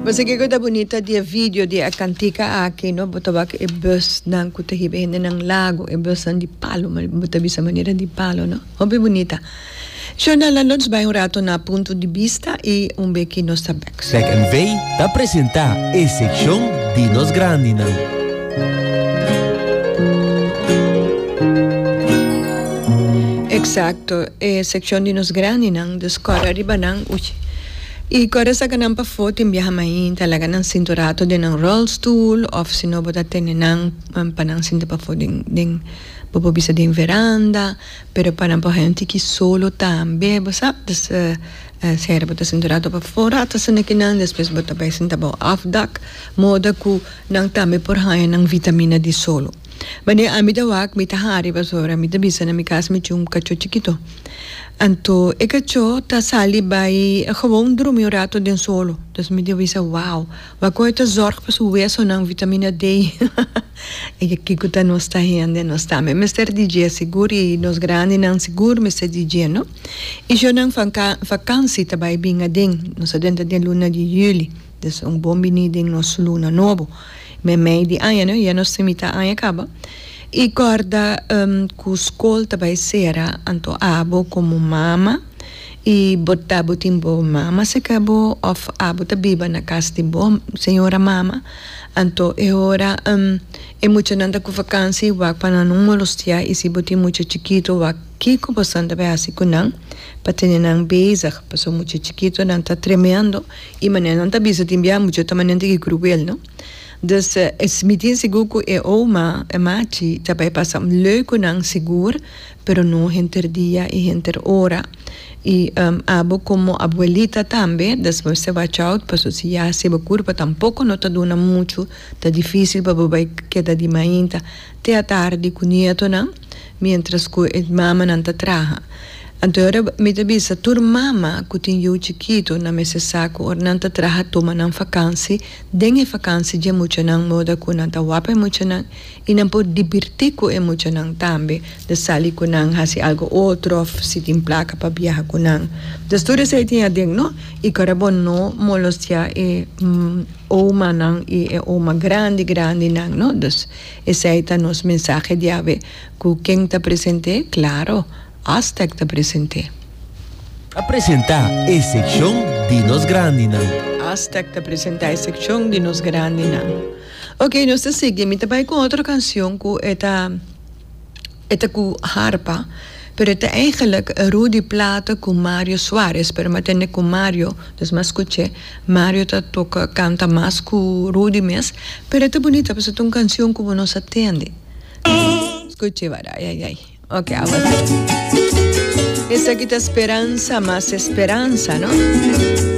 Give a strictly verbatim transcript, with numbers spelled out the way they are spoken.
Bo sa kiko ta bunita di e video di e kantika aki, no? Bo ta wak e busnan ku ta hiba hendenan Lago, e busnan di palo, bo ta bisa manera di palo, no? Hopi bunita. Shona, laga nos bai un rato na Punto di Bista i un beki nos ta bek. S E C N V ta presentá e sekshon di nos grandinan. Eksakto, e sekshon di nos grandinan, dus kòrda riba nan, uy. I kòrda saka nan pafó tin biaha mainta, laga nan sinta un rato den nan ròlstul òf si no bo ta tene nan pa nan sinta pafó den den bo por bisa den veranda, pero pa nan por haña un tiki solo tambe, bo sa. Dus sera bo ta sinta un rato pafó rato asina kinan, despues bo ta bai sinta bou afdak, moda ku nan tambe por haña nan vitamina di solo. Manera ami ta wak mi ta hari pasobra mi ta bisa na mi kas mi tin un kachó chikito. Anto e kachó ta sali bai gewoon drumi un rato den solo. Dus mi ta bisa wow, wak kon e ta zorg pa su wesonan, vitamina D. E kiko ta nos ta hende, nos tambe mester di dje sigur i nos grandinan sigur mester di dje no. I shownan vakansi ta bai bin aden, nos a drenta den luna di juli. Dus un bon bini den nos luna nobo. Meimei di aña no, ya nos tin mitá aña kaba. I kòrda ku skol ta bai sera, anto abo komo mama i bo ta bo tin bo mama serka bo òf abo ta biba na kas di bo señora mama, anto e ora e muchanan ta ku vakansi wak pa nan no molostiá i si bo tin mucha chikitu wak kiko boso ta bai hasi ku nan pa tene nan bezig, pasobra mucha chikitunan ta tremendo i manera nan ta bisa tin bia mucha ta manera di kruel no. Dus mi tin sigur ku e oma, e machi, ta bai pasa un leuk ku nan sigur, pero no henter dia i henter ora. I abo komo abuelita tambe, dus bo mester watch out, pasobra si ya si bo kurpa tampoko no ta duna muchu, ta difisil pa bo bai keda di mainta te atardi ku nietonan, mientras ku e mamanan ta traha. Anto ora mi ta bisa tur mama ku tin yu chikitu nan mester sa ku ora nan ta traha tuma nan fakansi, den e fakansi dje muchanan moda ku nan ta wapa e muchanan i nan por dibirtí ku e muchanan tambe, de sali ku nan hasi algu otro òf si tin plaka pa biaha ku nan. Dus tur esei tin aden no, i ku ora bo no molostiá e omanan i e oma grandi grandinan no. Dus esei ta nos mensahe di awe ku ken ta present'é? Klaro! Aztec ta present'é. A presentá e sekshon di nos grandinan. Aztec ta presentá e sekshon di nos grandinan. Ok, nos ta sigui. Mi ta bai ku otro kansion ku e ta e ta ku harpa, pero e ta eigenlik Rudy Plata ku Mario Suarez, pero mi a tende ku Mario, dus mi a skuch'é, Mario ta toka kanta mas ku Rudy mes, pero e ta bunita pasobra ta un kansion ku bo no sa tende. Skuch'é wak, ai ai ai. Ok, awa. Esaki ta Speransa mas Esperansa, no?